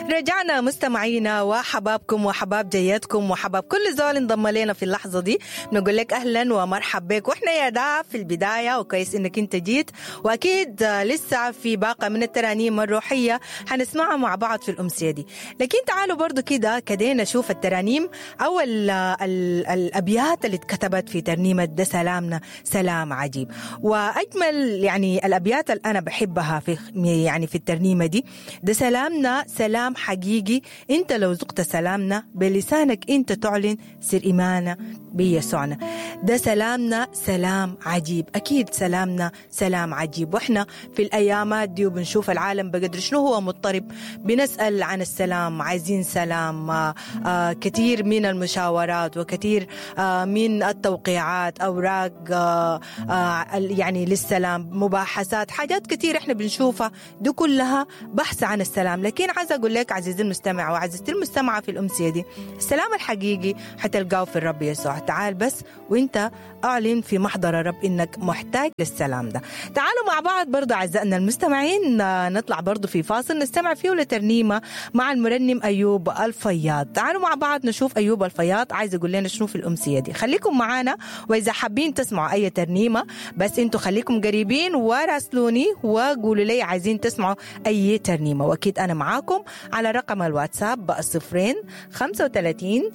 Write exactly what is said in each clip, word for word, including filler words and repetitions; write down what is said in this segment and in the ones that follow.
رجعنا مستمعينا وحبابكم وحباب جيتكم وحباب كل زول انضم لنا في اللحظة دي. نقول لك أهلا ومرحب بك، وإحنا يا دا في البداية، وكويس إنك أنت جيت، وأكيد لسه في باقة من الترانيم الروحية حنسمعها مع بعض في الأمسية دي. لكن تعالوا برضو كده كده نشوف الترانيم أو ال ال الأبيات اللي اتكتبت في ترنيمة ده سلامنا سلام عجيب. وأجمل يعني الأبيات اللي أنا بحبها في يعني في الترنيمة دي، ده سلامنا سلام حقيقي، انت لو ذقت سلامنا بلسانك انت تعلن سر إيمانك بيسوعنا. ده سلامنا سلام عجيب، أكيد سلامنا سلام عجيب. وإحنا في الأيامات دي وبنشوف العالم بقدر شنو هو مضطرب، بنسأل عن السلام، عايزين سلام. آه آه كثير من المشاورات وكثير آه من التوقيعات، أوراق آه آه يعني للسلام، مباحثات، حاجات كثير إحنا بنشوفها، دي كلها بحث عن السلام. لكن عايزة أقول لك عزيزي المستمع وعزيزتي المستمعة في الأمسية دي، السلام الحقيقي حتلقاه في الرب يسوع. تعال بس وانت أعلن في محضر الرب إنك محتاج للسلام ده. تعالوا مع بعض برضو أعزائنا المستمعين نطلع برضو في فاصل نستمع فيه لترنيمة مع المرنم أيوب الفياض. تعالوا مع بعض نشوف أيوب الفياض عايز يقول لنا شنو في الأمسية دي. خليكم معانا، وإذا حابين تسمعوا أي ترنيمة بس انتوا خليكم قريبين وراسلوني وقولوا لي عايزين تسمعوا أي ترنيمة، وأكيد أنا معاكم على رقم الواتساب صفرين خمسة وثلاثين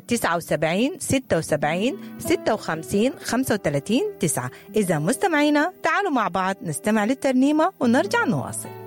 تسعة وسبعين ستة وسبعين ستة وخمسين خمسة وثلاثين تسعة. إذا مستمعينا تعالوا مع بعض نستمع للترنيمة ونرجع نواصل.